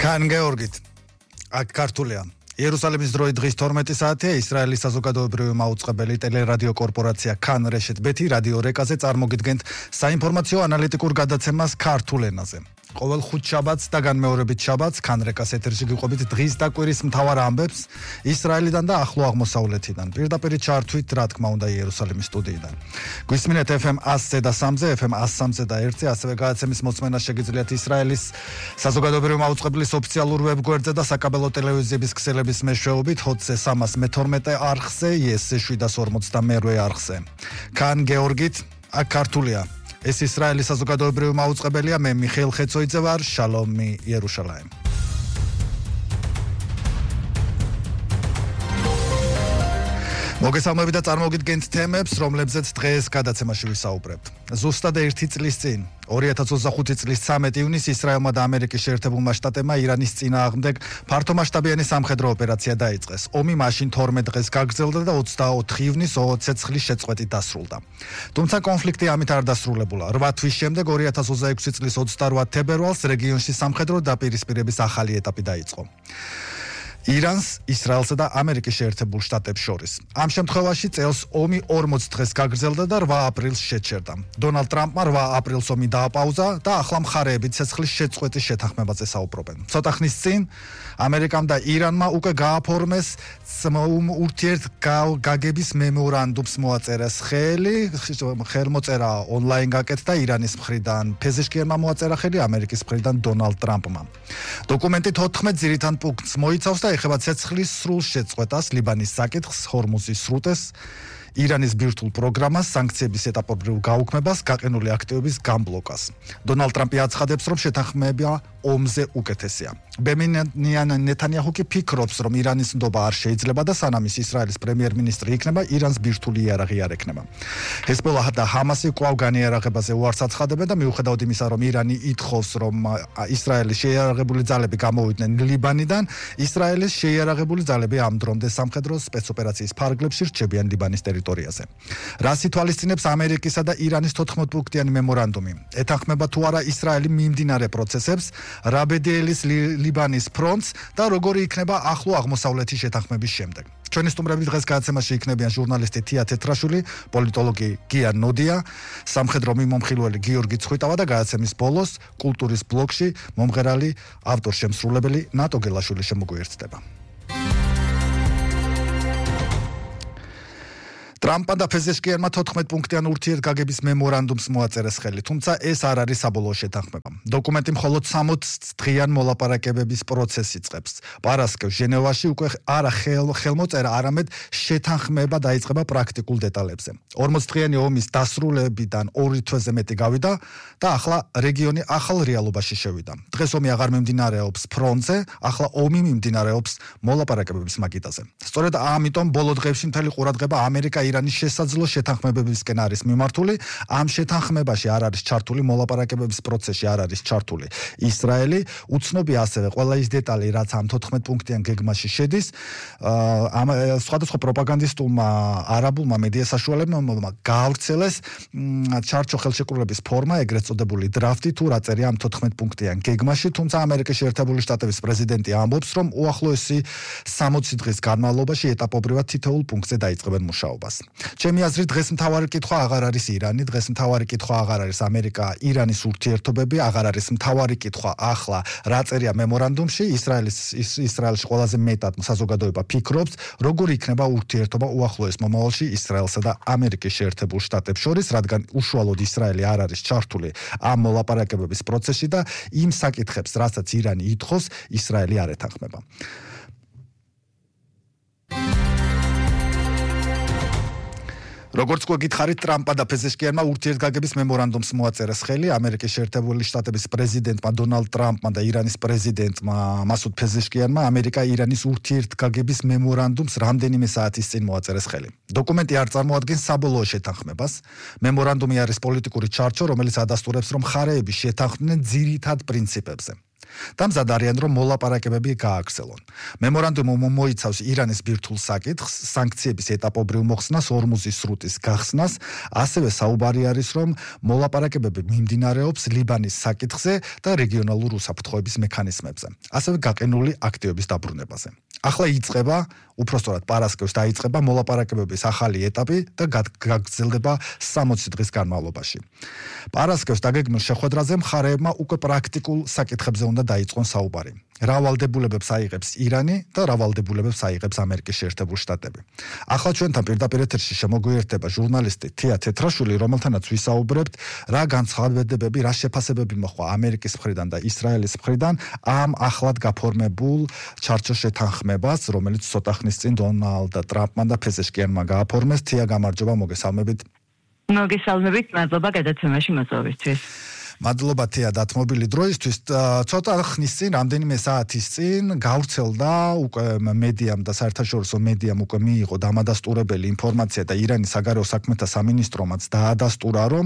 Khan Georgit, აქ ქართულია. იერუსალიმის დროით დღის 12 საათია ისრაელის საზოგადოებრივი მაუწყებელი ტელერადიო კორპორაცია Khan Reshet Bet-ი რადიო რეკაზე წარმოგიდგენთ საინფორმაციო ანალიტიკურ გადაცემას ქართულ ენაზე. ყოველ ხუთ შაბათს და განმეორებით შაბათს Khan Rekas ეთერში გიყვებით დღის და კვირის მთავარ ამბებს ისრაელიდან და ახლო აღმოსავლეთიდან. პირდაპირ ჩართვით, რა თქმა უნდა, იერუსალიმის სტუდიიდან. გვისმინეთ FM 100-ზე და 3-ზე, FM 103-ზე და 1-ზე, ასევე გადაცემის მოწმენა შეგიძლიათ ისრაელის საზოგადოებრივი მაუწყებლის ოფიციალურ ვებგვერდზე და საკაბელო ტელევიზიების ქსელების მეშვეობით HOTS-ზე 312 არხზე, YES-ზე 752 არხზე. Khan Georgit, აქ ქართულია. ეს ისრაელის საზოგადოებრივი მაუწყებელია, მე მიხეილ ხეცოიძე ვარ, შალომი იერუშალაიმ. მოგესალმებით და წარმოგიდგენთ თემებს, რომლებზეც დღეს გადაცემაში ვისაუბრებთ. ზუსტად 1 წლის წინ, 2025 წლის 13 ივნისს ისრაელმა და ამერიკის შეერთებულმა შტატებმა ირანის წინააღმდეგ ფართომასშტაბიანი სამხედრო ოპერაცია დაიწყეს. ომი მაშინ 12 დღეს გაგრძელდა და 24 ივნისს ცეცხლის შეწყვეტით დასრულდა. თუმცა კონფლიქტი ამით არ დასრულებულა. 8 თვის შემდეგ 2026 წლის 28 თებერვალს რეგიონში სამხედრო დაპირისპირების ახალი ეტაპი დაიწყო. ირანს, ისრაელსა და ამერიკის შეერთებულ შტატებს შორის. ამ შემთხვევაში წელს ომი 40 დღეს გაგრძელდა და 8 აპრილს შეჩერდა. დონალდ ტრამპმა 8 აპრილს ომი დააპაუზა და ახლა მხარეები ცეცხლის შეწყვეტის შეთანხმებაზე საუბრობენ. ცოტა ხნის წინ ამერიკამ და ირანმა უკვე გააფორმეს ურთიერთგაგების მემორანდუმს მოაწერეს ხელმოწერა ონლაინ გაკეთდა ირანის მხრიდან ფეზეშკიანმა მოაწერა ხელი ამერიკის მხრიდან დონალდ ტრამპმა. დოკუმენტი 14 ძირითად პუნქტს მოიცავს და ეხება ცეცხლის სრულ შეწყვეტას, ლიბანის საკითხს, ჰორმუზის სრუტეს, ირანის ბირთვულ პროგრამას, სანქციების ეტაპობრივ გაუქმებას, გაყინული აქტივების გამბლოკას. დონალდ ტრამპი აცხადებს, რომ შეთანხმება ომზე უკეთესია. ბენიამინ ნეთანიაჰუ კი ფიქრობს, რომ ირანის ნდობა არ შეიძლება და სანამ ის ისრაელის პრემიერ-მინისტრი იქნება, ირანს ბირთვული იარაღი არ ექნება. ჰეზბოლაჰ და ჰამასი კვლავ განიარაღებაზე უარს აცხადებენ და მიუხედავად იმისა, რომ ირანი ითხოვს, რომ ისრაელის შეიარაღებული ძალები გამოვიდნენ ლიბანიდან, ისრაელის შეიარაღებული ძალები ამ დრომდე სამხედრო სპეცოპერაციის ფარგლებში რჩებიან ლიბანის ტერიტორიაზე. რას ითვალისწინებს ამერიკისა და ირანის 14 პუნქტიანი მემორანდუმი? ეთანხმება თუ არა ისრაელი მიმდინარე პროცესებს, რა ბედელის ლიბანის ფრონტს და როგორი იქნება ახლო აღმოსავლეთის შეთანხმების შემდეგ. ჩვენი სტუმრები დღეს გადაცემაში იქნებიან ჟურნალისტი თია თეთრაშვილი, პოლიტოლოგი გია ნოდია, სამხედრო მიმომხილველი გიორგი ცხვიტავა და გადაცემის ბოლოს კულტურის ბლოკში მომღერალი ავტორ-შემსრულებელი ნატო გელაშვილი შემოგვიერთდება. ტრამპმა და ფეზეშკიანმა 14 პუნქტიან ურთიერთგაგების მემორანდუმს მოაწერეს ხელი, თუმცა ეს არ არის საბოლოო შეთანხმება. დოკუმენტი მხოლოდ 60 დღიან მოლაპარაკებების პროცესს იწყებს. პარასკევს ჟენევაში უკვე არა ხელმოწერა, არამედ შეთანხმება დაიწყება პრაქტიკულ დეტალებზე. 40 დღიანი ომის დასრულებიდან 2 თვეზე მეტი გავიდა და ახლა რეგიონი ახალ რეალობაში შევიდა. დღეს ომი აღარ მიმდინარეობს ფრონტზე, ახლა ომი მიმდინარეობს მოლაპარაკებების მაგიდაზე. სწორედ ამიტომ ბოლო დღეებში მთელი ყურადღება ამერიკა ირანის შესაძლო შეთანხმებებისკენ არის მიმართული. ამ შეთანხმებაში არ არის ჩართული მოლაპარაკებების პროცესში არ არის ჩართული ისრაელი. უცნობია ასევე ყველა ის დეტალი, რაც ამ 14 პუნქტიან გეგმაში შედის. სხვადასხვა პროპაგანდისტულმა არაბულმა მედია საშუალებებმა გაავრცელეს ჩარჩო ხელშეკრულების ფორმა, ეგრეთ წოდებული დრაფტი, თუ რა წერია ამ 14 პუნქტიან გეგმაში, თუმცა ამერიკის შეერთებული შტატების პრეზიდენტი ამბობს, რომ უახლოესი 60 დღის განმავლობაში ეტაპობრივად თითოეულ პუნქტზე დაიწყებენ მუშაობას. ჩემი აზრით დღეს მთავარი კითხვა აღარ არის ირანი, დღეს მთავარი კითხვა აღარ არის ამერიკა-ირანის ურთიერთობები, აღარ არის მთავარი კითხვა ახლა რა წერია მემორანდუმში. ისრაელში ყველაზე მეტად საზოგადოება ფიქრობს, როგორი იქნება ურთიერთობა უახლოეს მომავალში ისრაელსა და ამერიკის შეერთებულ შტატებს შორის, რადგან უშუალოდ ისრაელი არ არის ჩართული ამ მოლაპარაკებების პროცესში და იმ საკითხებს, რასაც ირანი ითხოვს, ისრაელი არ ეთანხმება. როგორც გითხარით, ტრამპმა და ფეზეშკიანმა ურთიერთგაგების მემორანდუმს მოაწერეს ხელი ამერიკის შეერთებული შტატების პრეზიდენტმა დონალდ ტრამპმა და ირანის პრეზიდენტმა მასუდ ფეზეშკიანმა ამერიკა-ირანის ურთიერთგაგების მემორანდუმს რამდენიმე საათის წინ მოაწერეს ხელი. დოკუმენტი არ წარმოადგენს საბოლოო შეთანხმებას. მემორანდუმი არის პოლიტიკური ჩარჩო, რომელიც ადასტურებს, რომ მხარეები შეთანხმდნენ ძირითად პრინციპებზე. და მზად არიან, რომ მოლაპარაკებები გააგრძელონ. მემორანდუმი მოიცავს ირანის ბირთვულ საკითხს, სანქციების ეტაპობრივ მოხსნას, ორმუზის სრუტის გახსნას, ასევე საუბარი არის, რომ მოლაპარაკებები მიმდინარეობს ლიბანის საკითხზე და რეგიონალურ უსაფრთხოების მექანიზმებზე, ასევე გაყინული აქტივების დაბრუნებაზე. ახლა იწყება, უпростоრად პარასკევს დაიწყება მოლაპარაკებების ახალი ეტაპი და გაგრძელდება 60 დღის განმავლობაში. პარასკევს დაგეგმილ შეხვედრაზე მხარეებმა უკვე პრაქტიკულ საკითხებზე უნდა დაიწყონ საუბარი. რა ვალდებულებებს აიღებს ირანი და რა ვალდებულებებს აიღებს ამერიკის შეერთებული შტატები. ახლა ჩვენთან პირდაპირ ეთერში შემოგვიერთდება ჟურნალისტი თია თეთრაშვილი, რომელთანაც ვისაუბრებთ, რა განცხადებები, რა შეფასებები მოხდა ამერიკის მხრიდან და ისრაელის მხრიდან ამ ახლად გაფორმებულ ჩარჩოს შეთანხმებას, რომელიც ცოტა ხნის წინ დონალდ ტრამპმა და ფესეშკიანმა გააფორმეს. თია, გამარჯობა, მოგესალმებით. მოგესალმებით, მადლობა გადაცემაში მოწვევისთვის. მადლობა თია დათმობილი დროისთვის. ცოტა ხნის წინ, რამდენიმე საათის წინ გავრცელდა უკვე მედიამ და საერთაშორისო მედიამ უკვე მიიღო დამადასტურებელი ინფორმაცია და ირანის საგარეო საქმეთა სამინისტრომაც დაადასტურა, რომ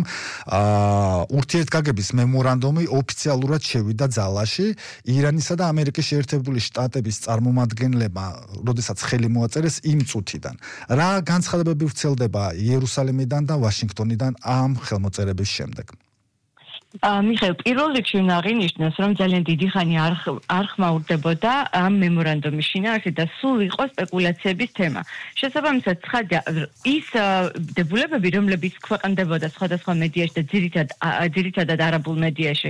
ურთიერთგაგების მემორანდუმი ოფიციალურად შევიდა ძალაში. ირანისა და ამერიკის შეერთებული შტატების წარმომადგენლებმა, როდესაც ხელი მოაწერეს იმ წუთიდან. რა განცხადებები ვრცელდება იერუსალიმიდან და ვაშინგტონიდან ამ ხელმოწერების შემდეგ? მიხეილ, პირველ რიგში უნდა აღინიშნოს, რომ ძალიან დიდი ხანი არ ხმაურდებოდა ამ მემორანდუმის შინაარსი და სულ იყო სპეკულაციების თემა. შესაბამისად, ცხადია, ის დებულებები, რომლებიც ქვეყნდებოდა სხვადასხვა მედიაში და ძირითადად არაბულ მედიაში,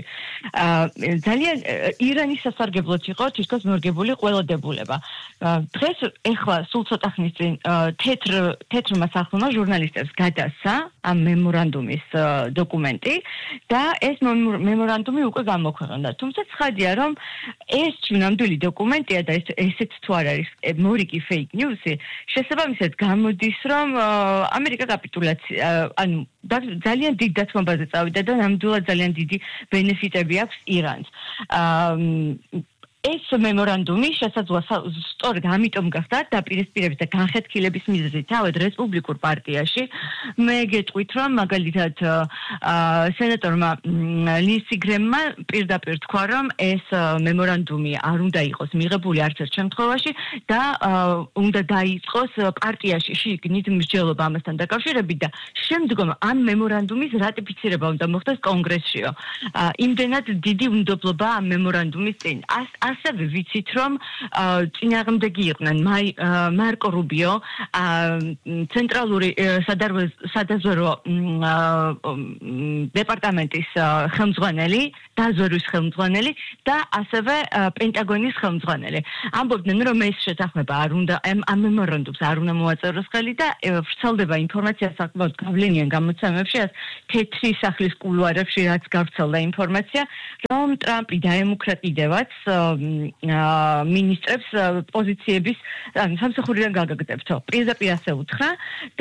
ძალიან ირანის სასარგებლოდ იყო თითქოს მორგებული ყველა დებულება. დღეს ეხლა სულ ცოტა ხნის წინ თეთრმა სახლმა ჟურნალისტებს გადასცა ამ მემორანდუმის დოკუმენტი და ეს მემორანდუმი უკვე გამოქვეყნდა. თუმცა ცხადია, რომ ეს ნამდვილი დოკუმენტია და ესეც თუ არ არის მორიგი fake news-ი, შესაბამისად გამოდის, რომ ამერიკა კაპიტულაცია, ანუ ძალიან დიდ დათმობაზე წავიდა და ნამდვილად ძალიან დიდი ბენეფიტები აქვს ირანს. ეს მემორანდუმი შესაძლოა სწორედ ამიტომ გახდა დაპირისპირების და განხეთქილების მიზეზი თავად რესპუბლიკურ პარტიაში. მე გეტყვით, რომ მაგალითად სენატორმა ლინსი გრემმა პირდაპირ თქვა, რომ ეს მემორანდუმი არ უნდა იყოს მიღებული არც ერთ შემთხვევაში და უნდა დაიწყოს პარტიაში შიგნით მსჯელობა ამასთან დაკავშირებით და შემდგომ ამ მემორანდუმის რატიფიცირება უნდა მოხდეს კონგრესშიო. იმდენად დიდი უნდობლობა ამ მემორანდუმის წინ. ასევე ვიცით, რომ წინააღმდეგი იყვნენ მარკო რუბიო, ცენტრალური სადაზვერვო დეპარტამენტის ხელმძღვანელი, დაზვერვის ხელმძღვანელი და ასევე პენტაგონის ხელმძღვანელი. ამბობდნენ, რომ ეს შეთანხმება არ უნდა ამ მემორანდუმს არ უნდა მოაწეროს ხელი და ვრცელდება ინფორმაცია საკმაოდ გავლენიან გამოცემებში, თეთრი სახლის კულუარებში რაც გავრცელდა ინფორმაცია, რომ ტრამპი დაემუქრატიდევაც მინისტრებს პოზიციების სამსახურიდან გაგაგდებთო. პირდაპირ ასე უთხრა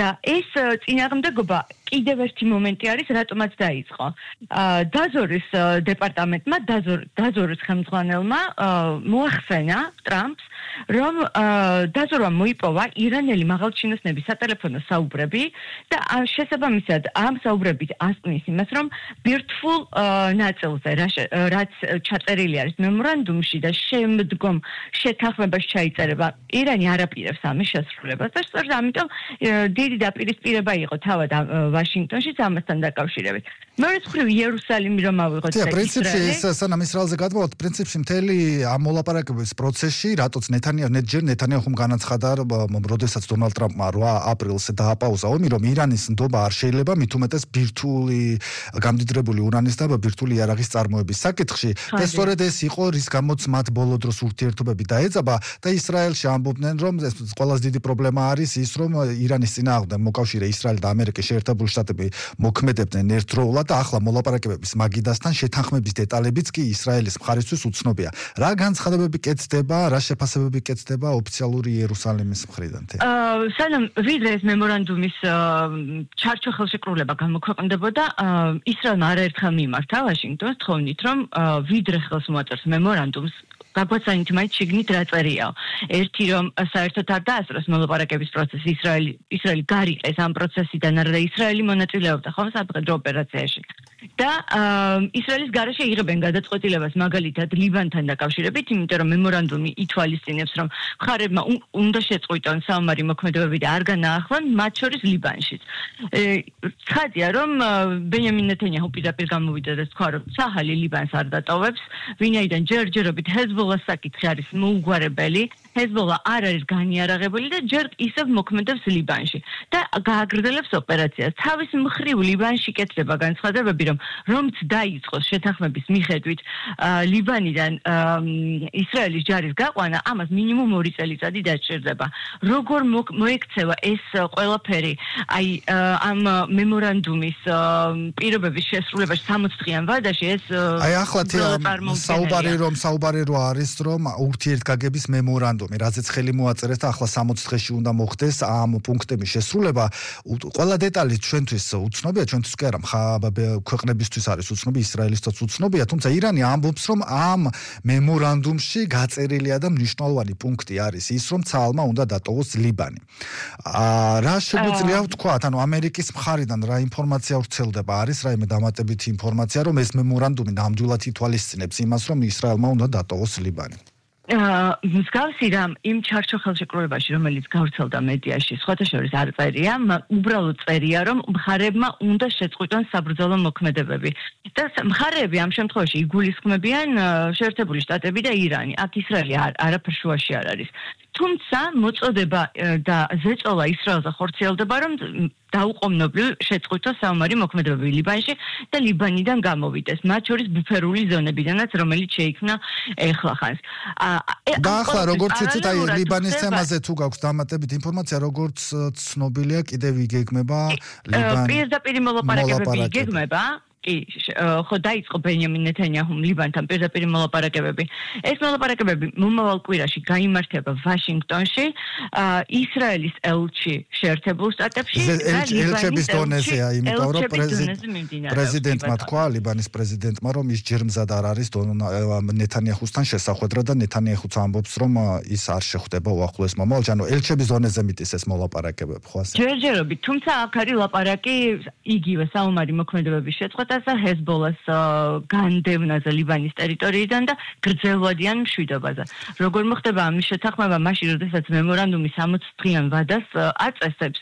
და ეს წინააღმდეგობა კიდევ ერთი მომენტი არის, რატომაც დაიწყო. დაზვერვის დეპარტამენტმა, დაზვერვის ხელმძღვანელმა მოახსენა ტრამპს, რომ დაზვერვამ მოიპოვა ირანელი მაღალჩინოსნების სატელეფონო საუბრები და შესაბამისად ამ საუბრებით ასკნის იმას, რომ ბირთვულ ნაწილზე, რაც ჩაწერილი არის მემორანდუმში და შემდგომ შეთანხმებაში ჩაიწერება, ირანი არ აპირებს ამის შესრულებას და სწორედ ამიტომ დიდი დაპირისპირება იყო თავად ვაშინგტონშიც ამასთან დაკავშირებით. მეორე მხრივ იერუსალიმი რომ ავიღოთ და პრინციპში ეს სანამ ისრაელზე გადმოვთ, პრინციპში მთელი ამ მოლაპარაკებების პროცესში, რატოც ნეთანიაჰუმ განაცხადა, როდესაც დონალდ ტრამპმა 8 აპრილს დააპაუზა ომი, რომ ირანის ნდობა არ შეიძლება მით უმეტეს ბირთვული გამდიდრებული ურანის და ბირთვული იარაღის წარმოების საკითხში და სწორედ ეს იყო, რის გამოც მათ ბოლო დროს ურთიერთობები დაეწაბა და ისრაელში ამბობდნენ, რომ ყველაზე დიდი პრობლემა არის ის, რომ ირანის წინააღმდეგ მოკავშირე ისრაელი და ამერიკის შეერთებული შტატები მოქმედებდნენ ერთდროულად და ახლა მოლაპარაკებების მაგიდასთან შეთანხმების დეტალებიც კი ისრაელის მხარისთვის უცნობია. რა განცხადებები კეთდება, რა შეფასებები კეთდება ოფიციალური იერუსალიმის მხრიდან? სანამ ვიდრე ეს მემორანდუმის ჩარჩო ხელშეკრულება გამოქვეყნდებოდა, ისრაელმა არაერთხელ მიმართა ვაშინგტონს თხოვნით, რომ ვიდრე ხელს მოაწერს მემორანდუმს გაგვაცანით მაინც შიგნით რა წერიაო. ერთი რომ საერთოდ არ დაასწროს მოლაპარაკების პროცესი, ისრაელი გარიყეს ამ პროცესიდან, არა და ისრაელი მონაწილეობდა ხომ სამხედრო ოპერაციაში. და ისრაელის გარეშე იღებენ გადაწყვეტილებას მაგალითად ლიბანთან დაკავშირებით, იმიტომ რომ მემორანდუმი ითვალისწინებს, რომ მხარეებმა უნდა შეწყვიტონ საომარი მოქმედებები და არ განაახლონ, მათ შორის ლიბანშიც. ცხადია, რომ ბენიამინ ნეთანიაჰუ პირდაპირ გამოვიდა და თქვა, რომ ცაჰალი ლიბანს არ დატოვებს, ვინაიდან ჯერჯერობით ჰეზბოლას საკითხი არის მოუგვარებელი, ჰეზბოლა არ არის განიარაღებული და ჯერ ისევ მოქმედებს ლიბანში და გააგრძელებს ოპერაციას. თავის მხრივ ლიბანში კეთდება განცხადებები, რომც დაიწყოს შეთანხმების მიხედვით ლიბანიდან ისრაელის ჯარის გაყვანა, ამას მინიმუმ 2 წელიწადი დაჭირდება. როგორ მოექცევა ეს ყველაფერი აი ამ მემორანდუმის პირობების შესრულებაში 60 დღიან ვადაში ეს აი ახლა საუბარი რო არის რომ ურთიერთგაგების მემორანდუმი, რაზეც ხელი მოაწერეს და ახლა 60 დღეში უნდა მოხდეს ამ პუნქტების შესრულება. ყველა დეტალი ჩვენთვის უცნობია, ჩვენთვის კი არა, ქვეყნებისთვის არის უცნობი, ისრაელისთვის უცნობია, თუმცა ირანი ამბობს, რომ ამ მემორანდუმში გაწერილია და მნიშვნელოვანი პუნქტი არის ის, რომ ცალმა უნდა დატოვოს ლიბანი. რა შეგვიძლია ვთქვათ, ანუ ამერიკის მხარიდან რა ინფორმაცია ვრცელდება, არის რაიმე დამატებითი ინფორმაცია, რომ ეს მემორანდუმი ნამდვილად ითვალისწინებს იმას, რომ ისრაელმა უნდა დატოვოს ლიბანი. მსგავსი რამ იმ ჩარჩო ხელშეკრულებაში, რომელიც გავრცელდა მედიაში, სხვათა შორის არ წერია, უბრალოდ წერია, რომ მხარეებმა უნდა შეწყვიტონ საბრძოლო მოქმედებები. და მხარეები ამ შემთხვევაში იგულისხმებიან შეერთებული შტატები და ირანი. აქ ისრაელი არაფერ შუაში არ არის. თუმცა მოწოდება და ზეწოლა ისრაელზე ხორციელდება, რომ დაუყოვნებლივ შეწყვიტოს საომარი მოქმედებები ლიბანში და ლიბანიდან გამოვიდეს, მათ შორის ბუფერული ზონებიდანაც, რომელიც შეიქმნა ახლახანს. და ახლა როგორც ვიცით, აი ლიბანის თემაზე თუ გაქვს დამატებით ინფორმაცია, როგორც ცნობილია, კიდევ იგეგმება ლიბანი. პირდაპირ მოლაპარაკებები იგეგმება. ხო დაიწყო ბენიამინ ნეთანიაჰუმ ლიბანთან პირდაპირ მოლაპარაკებები. ეს მოლაპარაკებები მომავალ კვირაში გაიმართება ვაშინგტონში, ისრაელის ელჩი შეერთებულ შტატებში და ელჩების დონეზეა, იმიტომ რომ პრეზიდენტმა თქვა, ლიბანის პრეზიდენტმა, რომ ის ჯერ მზად არ არის ნეთანიაჰუსთან შესახვედრა და ნეთანიაჰუც ამბობს, რომ ის არ შეხვდება უახლოეს მომავალში. ანუ ელჩების დონეზე მიტის ეს მოლაპარაკებები, ხო ასე? ჯერჯერობით, თუმცა აქ არის ლაპარაკი იგივე საომარი მოქმედებების შეწყვეტა ჰეზბოლას განდევნაზე ლიბანის ტერიტორიიდან და გრძელვადიან მშვიდობაზე. როგორ მოხდება ამის შეთანხმება მაშინ, როდესაც მემორანდუმი 60 დღიან ვადას აწესებს,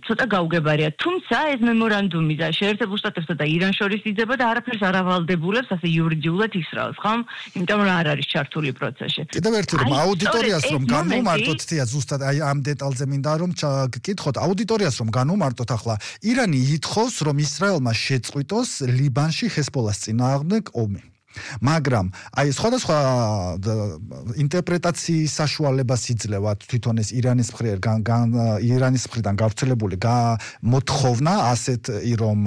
ცოტა გაუგებარია. თუმცა ეს მემორანდუმი და შეერთებულ შტატებსა და ირანს შორის იძება და არაფერს არ ავალდებულებს ასე იურიდიულად ისრაელს, ხო? იმიტომ რომ არ არის ჩართული პროცესში. კიდევ ერთი რომ აუდიტორიას რომ განვუმარტოთ, თია ზუსტად აი ამ დეტალზე მინდა რომ გკითხოთ აუდიტორიას რომ განვუმარტოთ ახლა ირანი ითხოვს რომ ისრაელმა შეწყვიტოს ლიბანში ჰეზბოლას წინააღმდეგ ომი. მაგრამ აი სხვადასხვა ინტერპრეტაციის საშუალებას იძლევა თვითონ ეს ირანის მხრიდან გავრცელებული მოთხოვნა ასეთ რომ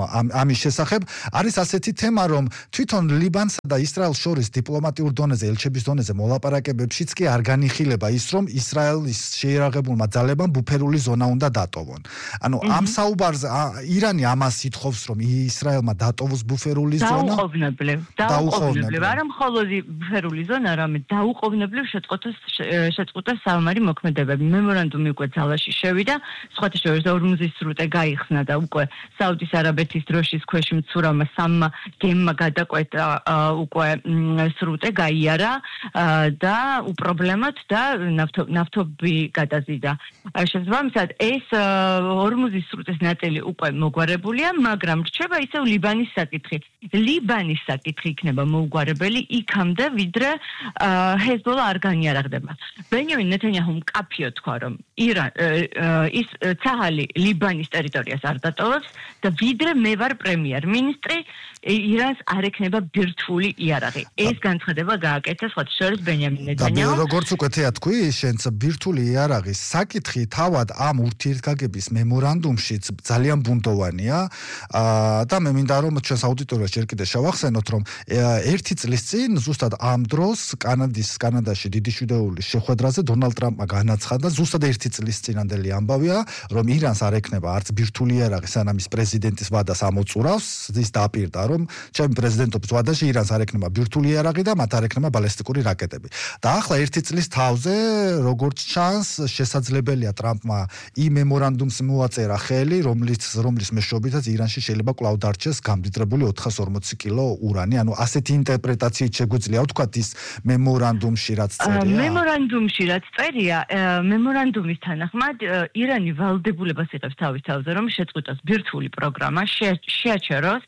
ამის შესახებ არის ასეთი თემა რომ თვითონ ლიბანსა და ისრაელს შორის დიპლომატიურ დონეზე ელჩების დონეზე მოლაპარაკებებშიც კი არ განიხილება ის რომ ისრაელის შეიარაღებულმა ძალებამ ბუფერული ზონა უნდა დატოვონ. ანუ ამ საუბარზე ირანი ამას ითხოვს რომ ისრაელმა დატოვოს ბუფერული ზონა. დაუყოვნებლივ. არა მხოლოდ ბუფერული ზონა, არამედ დაუყოვნებლივ შეწყვეტა საომარი მოქმედებები. მემორანდუმი უკვე ძალაში შევიდა, სხვათა შორის ორმუზის სრუტე გაიხსნა და უკვე საუდის არაბეთის დროშის ქვეშ მცურავმა სამმა გემმა გადაკვეთა უკვე სრუტე გაიარა და უპრობლემოდ და ნავთობი გადაზიდა. შესაბამისად, ეს ორმუზის სრუტეს ნაწილი უკვე მოგვარებულია, მაგრამ რჩება ისევ ლიბანის საკითხი. ლიბანის საკითხი იქნება მოუგვარებელი იქამდე, ვიდრე ჰეზბოლა არ განიარაღდება. ბენიამინ ნეთანიაჰუმ კაფიო თქვა, რომ ის ცაჰალი ლიბანის ტერიტორიას არ დატოვებს და ვიდრე მე ვარ პრემიერ-მინისტრი, ირანს არ ექნება ბირთვული იარაღი. ეს განცხადება გააკეთა სხვათა შორის ბენიამინ ნეთანიაჰუმ. და როგორც უკვე თქვი, შენც ბირთვული იარაღის საკითხი თავად ამ ურთიერთგაგების მემორანდუმშიც ძალიან ბუნდოვანია და მე მინდა რომ ჩვენს აუდიტორიას ჯერ კიდევ შევახსენოთ, რომ ერთი წლის წინ ზუსტად ამ დროს კანადაში დიდი შვიდეულის შეხვედრაზე დონალდ ტრამპმა განაცხადა, ზუსტად ერთი წლის წინანდელი ამბავია, რომ ირანს არ ექნება არც ბირთვული იარაღი, სანამ ის პრეზიდენტის ვადას ამოწურავს, ის დააპირდა, რომ ჩემი პრეზიდენტობის ვადაში ირანს არ ექნება ბირთვული იარაღი და მათ არ ექნება ბალისტიკური რაკეტები. და ახლა ერთი წლის თავზე, როგორც ჩანს, შესაძლებელია ტრამპმა იმ მემორანდუმს მოაწერა ხელი, რომლის მეშვეობითაც ირანში შეიძლება კვლავ დარჩეს გამდიდრებული 440 კილო ურანი. ანუ ასეთი ინტერპრეტაციით შეგვიძლია ვთქვათ ის მემორანდუმში რაც წერია. მემორანდუმში რაც წერია, მემორანდუმის თანახმად ირანი ვალდებულებას იღებს თავის თავზე, რომ შეწყვიტოს ბირთვული პროგრამა, შეაჩეროს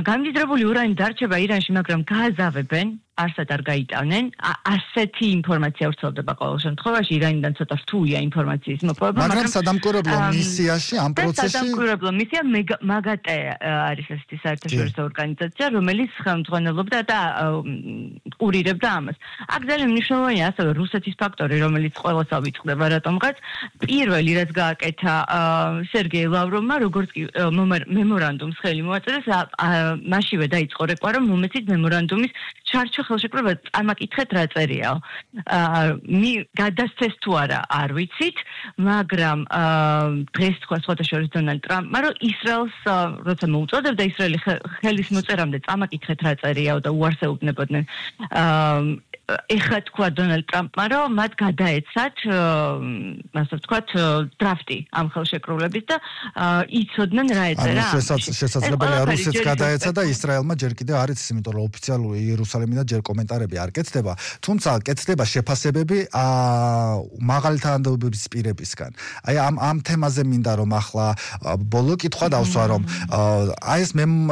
გამდიდრებული ურანი დარჩება ირანში, მაგრამ გააზავებენ არსად არ გაიტანენ. ასეთი ინფორმაცია ვრცელდება ყოველ შემთხვევაში, ირანიდან ცოტა რთულია ინფორმაციის მოპოვება, მაგრამ სადამკვირვებლო მისიაში ამ პროცესში სადამკვირვებლო მისია მაგატე არის ესეთი საერთაშორისო ორგანიზაცია, რომელიც ხელმძღვანელობდა და კურირებდა ამას. აქ ძალიან მნიშვნელოვანია ასევე რუსეთის ფაქტორი, რომელიც ყველას ავიწყდება რატომღაც. პირველი რაც გააკეთა სერგეი ლავროვმა, როგორც კი მემორანდუმს ხელი მოაწერეს, მაშინვე დაიწყო რეკვა, რომ მომეცით მემორანდუმის ჩარჩო ხელშეკრულება წამაკითხეთ რა წერიაო. გადასცეს თუ არა არ ვიცით, მაგრამ დღეს თქვა სხვადასხვა დონალდ ტრამპმა, რომ ისრაელს როცა მოუწოდებდა ისრაელი ხელის მოწერამდე წამაკითხეთ რა წერიაო და უარსებობდნენ. ეხლა თქვა დონალდ ტრამპმა, რომ მათ გადაეცათ, ასე ვთქვათ, დრაფტი ამ ხელშეკრულების და იცოდნენ რა ეწერა. შესაძლებელია რუსეთს გადაეცა და ისრაელმა ჯერ კიდევ არ იცის, იმიტომ რომ ოფიციალური იერუსალიმიდან ჯერ კომენტარები არ კეთდება, თუმცა კეთდება შეფასებები მაღალი თანამდებობის პირებისგან. აი ამ თემაზე მინდა რომ ახლა ბოლო კითხვა დავსვა, რომ აი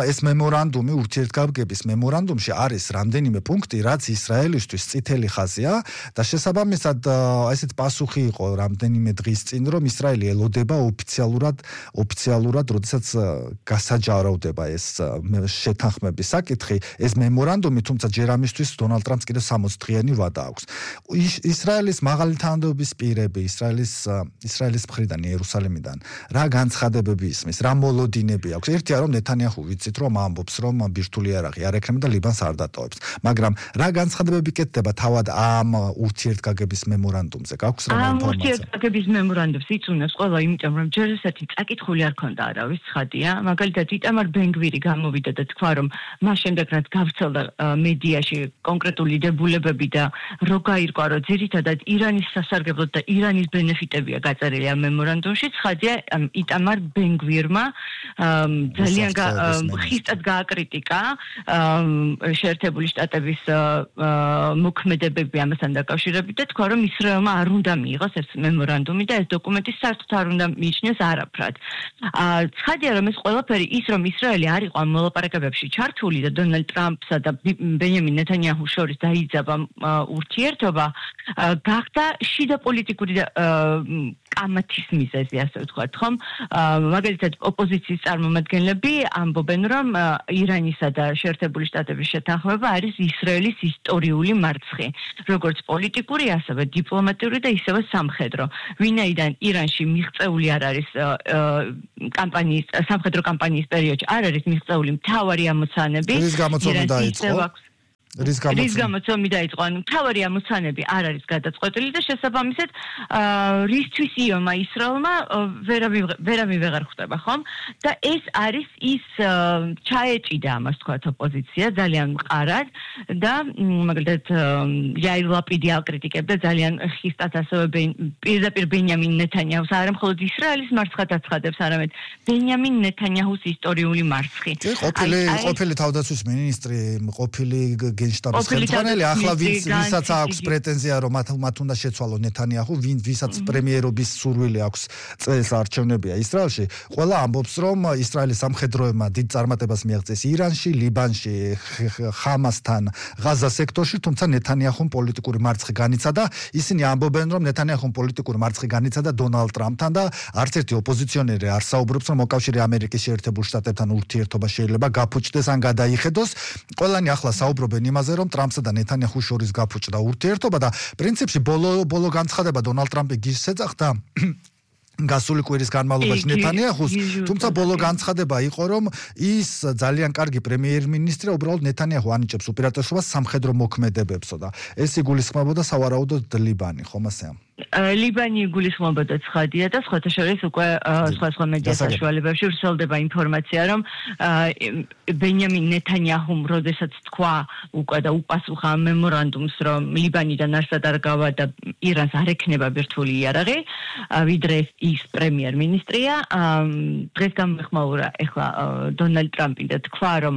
ეს მემორანდუმი, ურთიერთგაბგების მემორანდუმში არის რამდენიმე პუნქტი, რაც ისრაელისთვის წითელი ხაზია და შესაბამისად ესეთ პასუხი იყო რამდენიმე დღის წინ, რომ ისრაელი ელოდება ოფიციალურად, როდესაც გასაჯარავდება ეს შეთანხმების საკითხი, ეს მემორანდუმი, თუმცა ჯერ ამისთვის დონალდ ტრამპს კიდევ 60 დღიანი ვადა აქვს. ისრაელის მაღალი თანამდებობის პირები, ისრაელის მხრიდან, იერუსალიმიდან, რა განცხადებები ისმის, რა მოლოდინები აქვს. ერთია რომ ნეთანიაჰუ ვიცით რომ ამბობს, რომ ბირთვული იარაღი არ ექნება და ლიბანს არ დატოვებს, მაგრამ რა განცხადებები კეთდება თავად ამ ურთიერთგაგების მემორანდუმზე? გაქვს რა ინფორმაცია? ამ ურთიერთგაგების მემორანდუმს იცუნებს ყველა, იმიტომ რომ ჯერ ესეთი წაკითხული არ ქონდა არავის ცხადია. მაგალითად, იტამარ ბენგვირი გამოვიდა და თქვა, რომ მას შემდეგ რაც გავრცელდა მედიაში კონკრეტული დებულებები და რო გაირკვა, რომ ძირითადად ირანის სასარგებლოდ და ირანის ბენეფიტებია გაწერილი ამ მემორანდუმში, ცხადია იტამარ ბენგვირმა ძალიან ხისტად გააკრიტიკა შეერთებული შტატების მოქმედებები ამასთან დაკავშირებით და თქვა, რომ ისრაელმა არ უნდა მიიღოს ეს მემორანდუმი და ეს დოკუმენტი საერთოდ არ უნდა მიიჩნიოს არაფრად. ცხადია, რომ ეს ყველაფერი ის, რომ ისრაელი არ იყო ამ მოლაპარაკებებში ჩართული და დონალდ ტრამპსა და ბენიამინ ნეთანიაჰუს შორის დაიძაბა ურთიერთობა, გახდა შიდა პოლიტიკური კამათის მიზეზი, ასე ვთქვათ, ხომ? მაგალითად, ოპოზიციის წარმომადგენლები ამბობენ, რომ ირანისა და შეერთებული შტატების შეთანხმება არის ისრაელის ისტორიული მარცხი, როგორც პოლიტიკური, ასევე დიპლომატიური და ისევე სამხედრო. ვინაიდან ირანში მიღწეული არ არის სამხედრო კამპანიის პერიოდში არ არის მიღწეული მთავარი ამოცანები. რის გამოწვევა დაიწყო? რის გამოწვევა დაიწყო? ანუ მთავარი ამოცანები არ არის გადაწყვეტილი და შესაბამისად რისთვის იომა ისრაელმა ვერავინ ვეღარ ხვდება, ხომ? და ეს არის ის ჩაეჭიდა ამას თქვათ ოპოზიცია ძალიან მყარად და მაგალითად იაირ ლაპიდი აკრიტიკებდა ძალიან ხისტად ასევე პირდაპირ ბენიამინ ნეთანიაჰუს, არა მხოლოდ ისრაელის მარცხად აცხადებს, არამედ ბენიამინ ნეთანიაჰუს ისტორიული მარცხი. ყოფილი თავდაცვის მინისტრი, ყოფილი გენშტაბის ხელმძღვანელი, ახლა ვისაც აქვს პრეტენზია, რომ მათ უნდა შეცვალონ ნეთანიაჰუ, ვისაც პრემიერობის სურვილი აქვს წელს არჩევნებია ისრაელში, ყველა ამბობს, რომ ისრაელის სამხედროებმა დიდ წარმატებას მიაღწიეს ირანში, ლიბანში, ხამასთან, ღაზა სექტორში, თუმცა ნეთანიაჰუმ პოლიტიკური მარცხი განიცადა. ისინი ამბობენ, რომ ნეთანიაჰუმ პოლიტიკური მარცხი განიცადა დონალდ ტრამპთან და არც ერთი ოპოზიციონერი არ საუბრობს, რომ მოკავშირე ამერიკის შეერთებულ შტატებთან ურთიერთობა შეიძლება გაფუჭდეს ან გადაიხედოს. ყველანი ახლა საუბრობენ იმაზე, რომ ტრამპსა და ნეთანიაჰუს შორის გაფუჭდა ურთიერთობა და პრინციპში ბოლო განცხადება დონალდ ტრამპი გისს ეძახდა გასული კვირის განმავლობაში ნეთანიაჰუს, თუმცა ბოლო განცხადება იყო, რომ ის ძალიან კარგი პრემიერ-მინისტრია, უბრალოდ ნეთანიაჰუ ანიჭებს უპირატესობას სამხედრო მოქმედებებსო და ეს იგულისხმებოდა სავარაუდოდ ლიბანი, ხომ ასეა? ლიბანი იგულისხმებოდა ცხადია და სხვათა შორის უკვე სხვა მედია საშუალებებში ვრცელდება ინფორმაცია, რომ ბენიამინ ნეთანიაჰუმ როდესაც თქვა უკვე და უპასუხა მემორანდუმს, რომ ლიბანიდან არსად არ გავა და ირანს არ ექნება ბირთვული იარაღი, ვიდრე ის პრემიერ-მინისტრია, დღეს გამეხმაურა ეხლა დონალდ ტრამპი და თქვა, რომ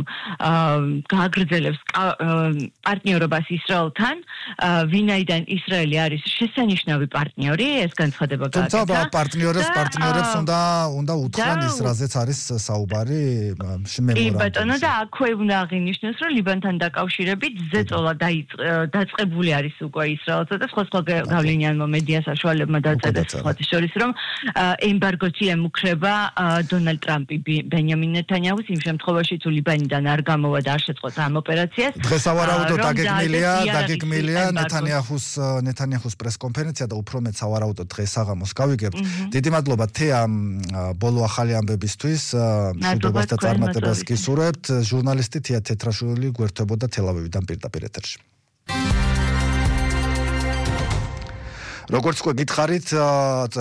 გააგრძელებს პარტნიორობას ისრაელთან, ვინაიდან ისრაელი არის შესანიშნავი პარტნიორი, ეს განცხადება გააკეთა. თუმცა პარტნიორებს უნდა უთხრან ის, რაზეც არის საუბარი მემორანდუმში. კი ბატონო, და აქვე უნდა აღინიშნოს, რომ ლიბანთან დაკავშირებით ზეწოლა დაწყებული არის უკვე ისრაელსა და სხვა გავლენიან მედია საშუალებმა დაწერეს სხვათა შორის, რომ ემბარგოთი ემუქრება დონალდ ტრამპი ბენიამინ ნეთანიაჰუს იმ შემთხვევაში, თუ ლიბანიდან არ გამოვა და არ შეწყოს ამ ოპერაციას. დღეს სავარაუდოდ დაგეგმილია ნეთანიაჰუს პრესკონფერენცია და უფრო მეც სავარაუდოდ დღეს საღამოს გავიგებთ. დიდი მადლობა თეა ბოლო ახალი ამბებისთვის, მშვიდობას და წარმატებას გისურვებთ. ჟურნალისტი თეა თეთრაშვილი გვერდებოდა თელ-ავივიდან პირდაპირ ეთერში. როგორც გითხარით,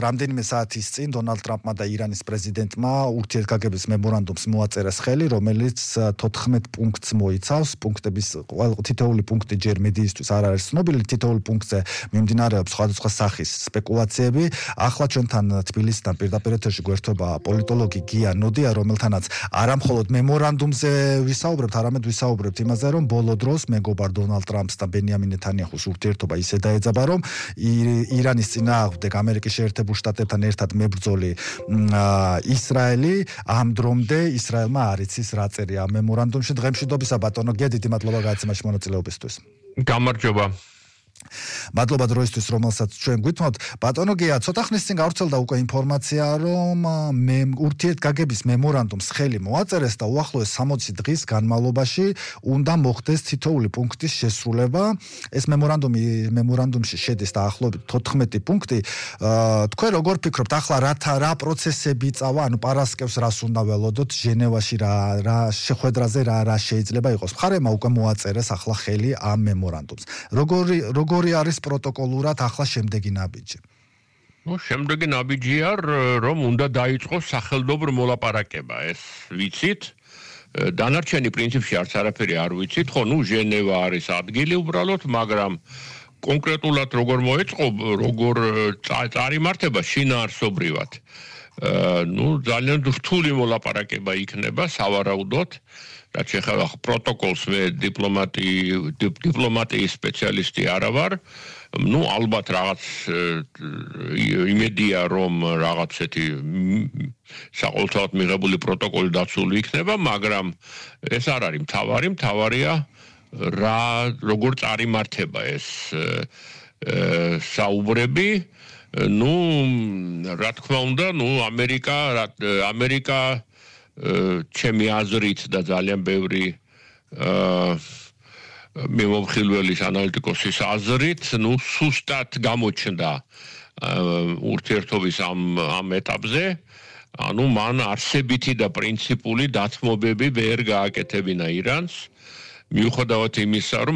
რამდენიმე საათის წინ დონალდ ტრამპმა და ირანის პრეზიდენტმა ურთიერთგაგების მემორანდუმს მოაწერეს ხელი, რომელიც 14 პუნქტს მოიცავს. პუნქტების თითოეული პუნქტი ჯერ მედიისთვის არ არის ცნობილი, თითოეული პუნქტზე მიმდინარეობს სხვადასხვა სახის სპეკულაციები. ახლა ჩვენთან თბილისიდან პირდაპირ ეთერში გვერდება პოლიტოლოგი გია ნოდია, რომელთანაც არა მხოლოდ მემორანდუმზე ვისაუბრებთ, არამედ ვისაუბრებთ იმაზე, რომ ბოლო დროს მეგობარ დონალდ ტრამპს და ბენიამინ ნეთანიაჰუს ურთიერთობა ისე დაეძაბა, რომ ირანის წინააღმდეგ ამერიკის შეერთებულ შტატებთან ერთად მებრძოლი ისრაელი ამ დრომდე ისრაელმა არ იცის რა წერია ამ მემორანდუმში. დღემშვიდობისა ბატონო გია, დიდი მადლობა გადაცემაში მონაწილეობისთვის. გამარჯობა. მადლობა დროისთვის, რომელსაც ჩვენ გვითმოთ. ბატონო გია, ცოტა ხნის წინ გავრცელდა უკვე ინფორმაცია, რომ ურთიერთგაგების მემორანდუმს ხელი მოაწერეს და უახლოეს 60 დღის განმავლობაში უნდა მოხდეს თითოეული პუნქტის შესრულება. ეს მემორანდუმში შედის დაახლოებით 14 პუნქტი. თქვენ როგორ ფიქრობთ, ახლა რა პროცესები წავა, ანუ პარასკევს რას უნდა ველოდოთ, ჟენევაში რა შეხვედრაზე რა შეიძლება იყოს. მხარემა უკვე მოაწერეს ახლა ხელი ამ მემორანდუმს. როგორი არის პროტოკოლურად ახლა შემდეგი ნაბიჯი? შემდეგი ნაბიჯია, რომ უნდა დაიწყოს სახელმწიფო მოლაპარაკება, ეს ვიცით. დანარჩენი პრინციპში არც არაფერი არ ვიცით, ხო, ჟენევა არის ადგილი უბრალოდ, მაგრამ კონკრეტულად როგორ მოეწყო, როგორ წარიმართება შინაარსობრივად. ძალიან რთული მოლაპარაკება იქნება სავარაუდოდ. რაც ეხება პროტოკოლს მე დიპლომატიის სპეციალისტი არა ვარ. ალბათ რაღაც იმედია რომ რაღაცეთი საყოველთაოდ მიღებული პროტოკოლი დაცული იქნება, მაგრამ ეს არ არის მთავარია როგორ წარიმართება ეს საუბრები. რა თქმა უნდა, ამერიკა ჩემი აზრით და ძალიან ბევრი მიმოხილველის ანალიტიკოსის აზრით, სუსტად გამოჩნდა ურთიერთობის ამ ეტაპზე. მან არსებითი და პრინციპული დათმობები ვერ გააკეთებინა ირანს. მიუხედავად იმისა, რომ